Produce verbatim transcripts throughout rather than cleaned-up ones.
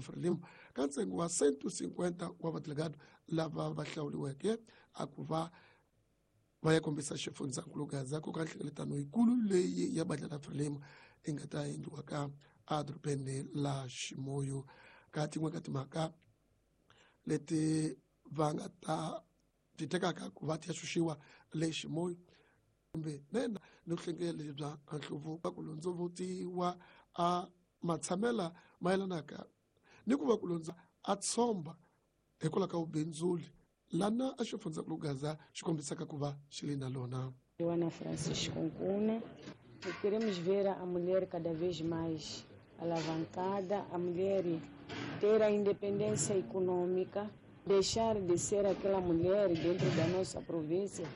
Frelimo ka ntsengo wa cento cinquenta wa vadelegado lava va hlawuriweke a ku va va ya kombisa xifundzankulu Gaza ku ka nhlengeletano yikulu leyi ya bandla la Frelimo yi nga ta endliwa ka edorobeni la Chimoio. Ka tin'we ka timhaka leti va nga ta ti tekaka ku va ti ya xuxiwa le Chimoio kumbe nena ni vuhlengeli bya nhluvuko ku londzovutiwa a matshamela mayelanaka ni ku va ku londza a tshomba hikwalaho ka vubindzuli lana a xifundzankulu Gaza xi kombisaka ku va xi li na lona. Joana Francisco Nkuna. Queremos ver a mulher cada vez mais alavancada, a mulher ter a independência econômica, deixar de ser aquela mulher dentro da nossa província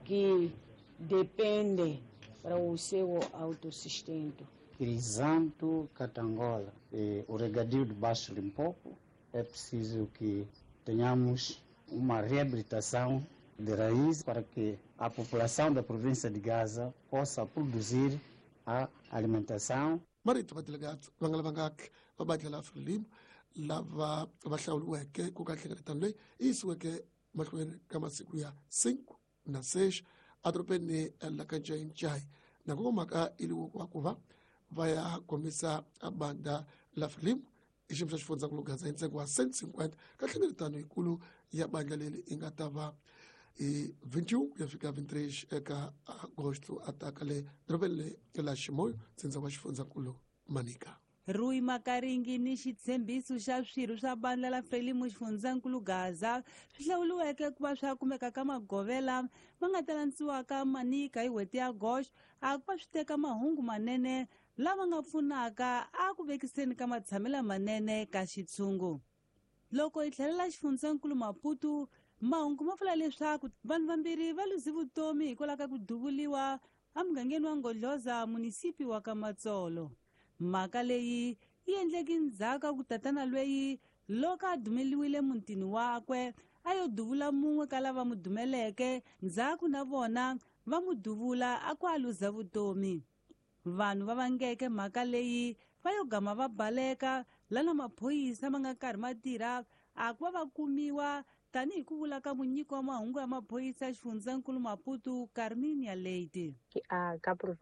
que depende para o seu autossustento. Crisanto Catangola, eh, o regadio de Baixo Limpopo, é preciso que tenhamos uma reabilitação de raiz para que a população da província de Gaza possa produzir a alimentação. Marito va delegado va nga lavangaki va bandla la Frelimo lava va hlawuriweke ku ka nhlengeletano leyi yi yisiweke mahlweni ka masiku ya cinco na seis edorobeni la ka Ncayincai na ku mhaka i wa ku va va ya kombisa bandla la Frelimo i xiyimo xa xifundzankulu Gaza hi ntsengo wa cento cinquenta ka nhlengeletano yikulu ya bandla leri yi nga ta va hi vinte e um ku ya fika vinte e três eka agosto ataka le dorobeni la Chimoio ntsindza wa xifundzankulu Manica. Rui Makaringi ni xitshembiso xa swirho swa bandla la Frelimo xifundzankulu Gaza swi hlawuriweke ku va swa kumeka ka magovela ma nga ta landziwaka Manica hi n'hweti ya Agosto a ku va swi teka mahungu manene lama nga pfunaka a ku vekiseni ka matshamelo manene ka xitshungu. Loko hi tlhelela xifundzankulu Maputo, mahungu ma vula leswaku vanhu vambirhi va luze vutomi hikwalaho ka ku duvuliwa emugangeni wa Ngodloza, munisipi wa ka Matsolo. Mhaka leyi yi endleke ndzhaku ka ku tatana lweyi loko a dumeliwile mutini wakwe a yo duvula mun'we ka lava mu dumeleke, ndzhaku na vona va mu duvula a ku a luza vutomi. Vanhu va vangeke mhaka leyi va yo gama va baleka lana maphorisa ma nga karhi ma tirha a ku va va kumiwa, tanihi ku vula ka munyiki wa mahungu ya maphorisa ya xifundzankulu Maputo, Carminia Leite. A Cabo